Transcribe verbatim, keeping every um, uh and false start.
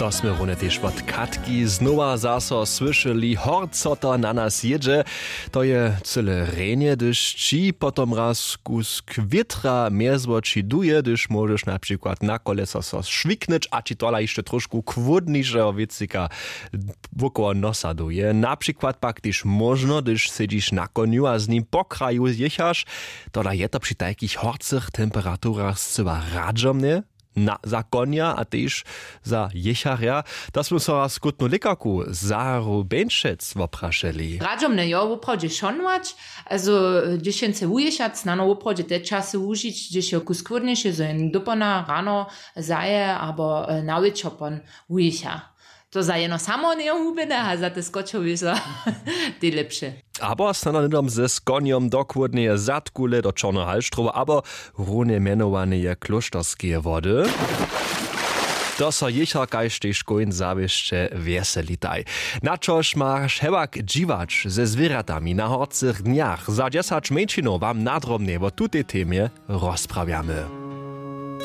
To smy runje tež wot Katki znowa zaso słyšeli, horco to na nas jědźe. To je cyle rjenje, hdyž ći potom raz kusk wětra mjez woči duje, hdyž móžeš na přikład na koleso so šwiknyć a ći tola hišće trošku chłódnišeho wěcika wokoło nosa duje. Na přikład pak tež móžno, hdyž sedźiš na konju a z nim po kraju jěchaš. Tola je to při tajkich horcych temperaturach scyła radźomne na, za konja a tež za jěcharja. To smy so raz skutnu lěkarku Saru Beńšec woprašeli. Radźomne jo woprawdźe šonować, also, hdźež jen chce wujěchać, snano woprawdźe te časy wužić, hdźež je kusk chłódnjejše, zo jen dopona rano zaje abo, e, na wječor pon wujěcha. To za jeno samo njeje hubjene a za te skočowy so tej lepše. Abo snano hnydom ze skonjom do chłódneje zadkule do čorneho halštrowa abo runje mjenowaneje klóšterskeje wody. To so jěchar kaž tež kóń zawěsće wjeselitaj. Na čož maš hewak dźiwać ze zwěrjatami na horcych dnjach? Za dźesać mjeńšinow wam nadrobnje wo tutej temje rozprawjamy.